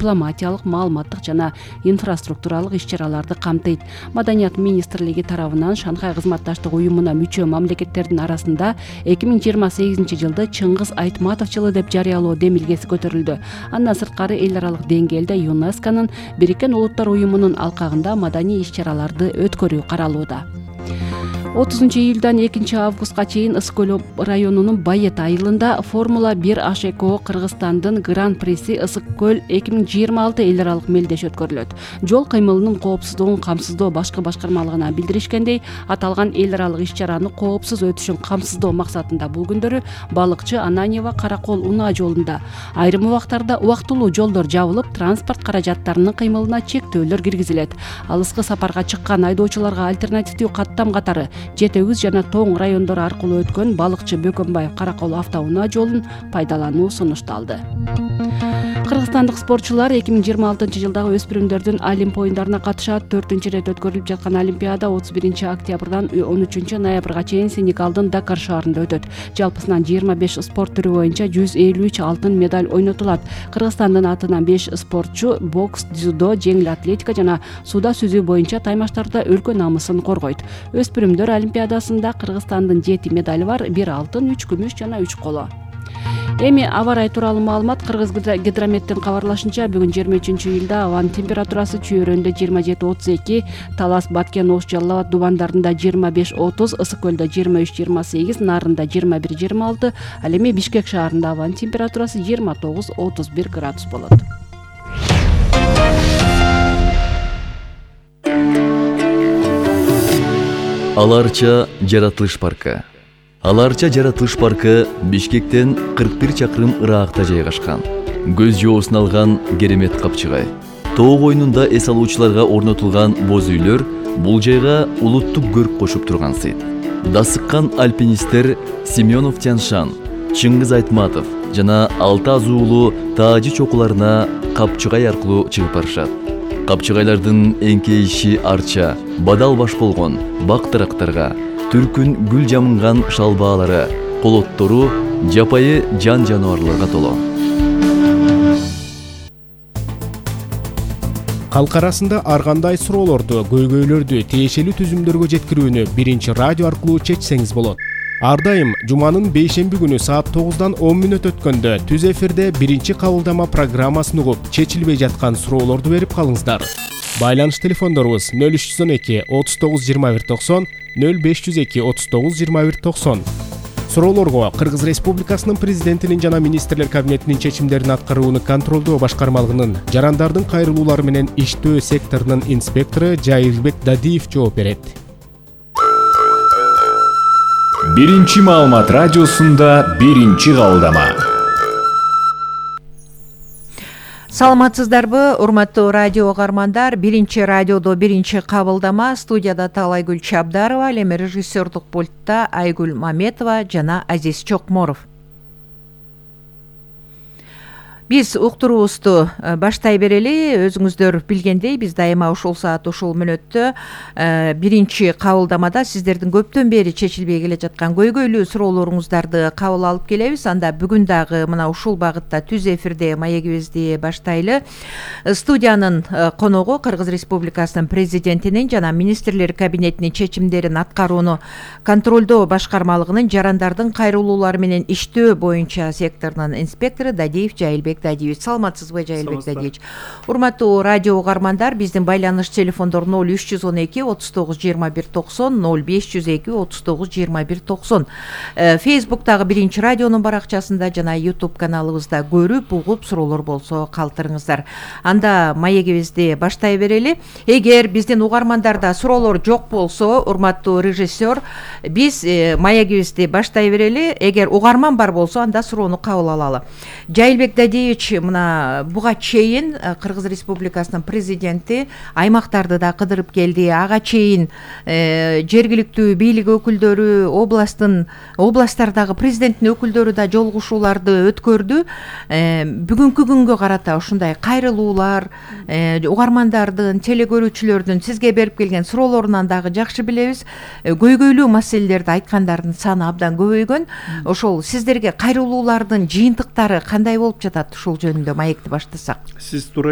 дипломатиялык, маалыматтык жана инфраструктуралык иш-чараларды камтыйт. Маданият министрлиги тарабынан Шанхай кызматташтык уюмуна мүчө мамлекеттердин арасында 2028-жылды Чыңгыз Айтматов жылы деп жарыялоо демилгеси көтөрүлдү. Андан сырткары эл аралык деңгээлде ЮНЕСКОнун Бириккен Улуттар уюмунун алкагында маданий иш-чараларды өткөрүү каралууда. 30-июлдан 2-августка чейин Ысык көл районунун Байет айылында Формула 1 АШКО Кыргызстандын Гран-приси Ысык көл 2026 эл аралык мелдеш өткөрүлөт. Жол кыймылынын коопсуздугун камсыздоо башкы башкармалыгына билдиришкендей, аталган эл аралык иш-чараны коопсуз өтүшүн камсыздоо максатында бул күндөрү Балыкчы Ананьево Каракол унаа жолунда айрым убактарда убактылуу жолдор жабылып, транспорт каражаттарынын кыймылына чектөөлөр киргизилет. Алыскы сапарга чыккан айдоочуларга альтернативдүү каттам катары Жете Үз жана Тоң райондору аркылуу өткөн Балыкчы Бөкөнбаев Каракол автоунаа жолун пайдалануу сунушталды. Кыргызстандык спортчулар 2026-жылдагы өспүрүмдөрдүн Олимп оюндарына катышат. 4-рет өткөрүлүп жаткан Олимпиада 31-октябрдан 13-ноябрга чейин Сенегалдын Дакар шаарында өтөт. Жалпысынан 25 спорт түрү боюнча 153 алтын медаль ойнотулат. Кыргызстандын атынан 5 спортчу бокс, дзюдо, жеңил атлетика жана сууда сүзүү боюнча таймаштарда өлкө намысын коргойт. Өспүрүмдөр Олимпиадасында Кыргызстандын 7 медали бар, 1 алтын, 3 күмүш жана 3 коло. Эми аба ырайы тууралуу маалымат. Кыргыз гидрометтин кабарлашынча, бүгүн 23-июлда абанын температурасы Чүй-Өрөндө 27-32, Талас, Баткен, Ош, Жалал Абад дубандарында 25-30, Ысык көлдө 23-28, Нарында 21-26, ал эми Бишкек шаарында абанын температурасы 29-31 градус болот. Аларча жаратылыш паркы. Аларча жаратылыш паркы Бишкектен 41 чакырым ыракта жайгашкан. Көз жоосун алган керемет капчыгай. Тоо койнунда эс алуучуларга орнотулган боз үйлөр бул жайга улуттук көрк кошуп турган сыйт. Дасыккан альпинисттер Семенов Тяншан, Чыңгыз Айтматов жана Алты Азуулу Таажы чокуларына капчыгай аркылуу чыгып барышат. Капчыгайлардын эңкейиши арча, бадал баш болгон бактырактарга, түркүн гүл жамынган шалбаалары, колоттору жапайы жан жаныбарларга толо. Калк арасында ар кандай суроолорду, көйгөйлөрдү тиешелүү түзүмдөргө жеткирүүнү биринчи радио аркылуу чечсеңиз болот. Ар дайым жуманын бейшемби күнү саат 9-дан 10 мүнөт өткөндө түз эфирде биринчи кабылдама программасын угуп, чечилбей жаткан суроолорду берип калыңыздар. Байланыш телефондорубуз 0312 39 21 90, 0502 39 21 90. Суроолорго Кыргыз Республикасынын президентинин жана министрлер кабинетинин чечимдерин аткарууну контролдоо башкармалыгынын жарандардын кайрылуулары менен иштөө секторунун инспектору Жайылбек Дадиев жооп берет. Биринчи маалымат радиосунда биринчи кабылдама. Саламатсыздарбы, урматтуу радио угармандар? Биринчи радиодо биринчи кабылдама. Студияда Талайгүл Чабдарова, ал эми режиссердук пультта Айгүл Маметова жана Азиз Чокморов. Биз уктуруубузду баштай берели. Өзүңүздөр билгендей, биз дайыма ушул саат, ушул мүнөттө биринчи кабылдамада сиздердин көптөн бери чечилбей келе жаткан көйгөйлүү суроолоруңуздарды кабыл алып келебиз. Анда бүгүн дагы мына ушул багытта түз эфирде маегибизди баштайлы. Студиянын коногу Кыргыз Республикасынын президентинин жана министрлер кабинетинин чечимдерин аткарууну контролдоо башкармалыгынын жарандардын кайрылуулары менен иштөө боюнча секторунун инспектору Дадиев Жайылбек Дадиевич. Саламатсызбы, Жайылбек Дадиевич? Урматтуу радио угармандар, биздин байланыш телефондор 0312 39 21 90, 0502 39 21 90. Фейсбуктагы биринчи радионун баракчасында жана YouTube каналыбызда көрүп, угуп, суроолор болсо калтырыңыздар. Анда маегибизди баштай берели. Эгер биздин угармандарда суроолор жок болсо, урматтуу режиссер, биз маегибизди баштай берели. Эгер угарман бар болсо, анда суроону кабыл алалы. Жайылбек Дадиевич, мына буга чейин Кыргыз Республикасынын президенти аймактарды да кыдырып келди. Ага чейин жергиликтүү бийлик өкүлдөрү, областтардагы президенттин өкүлдөрү да жолугушууларды өткөрдү. Бүгүнкү күнгө карата ушундай кайрылуулар, угармандардын, телекөрүүчүлөрдүн сизге берип келген суроолорунан дагы жакшы билебиз. Көйгөйлүү маселелерди айткандардын саны абдан көбөйгөн. Ошол сиздерге кайрылуулардын жыйынтыктары кандай болуп жатат? Ушул жөнүндө маекти баштасак. Сиз туура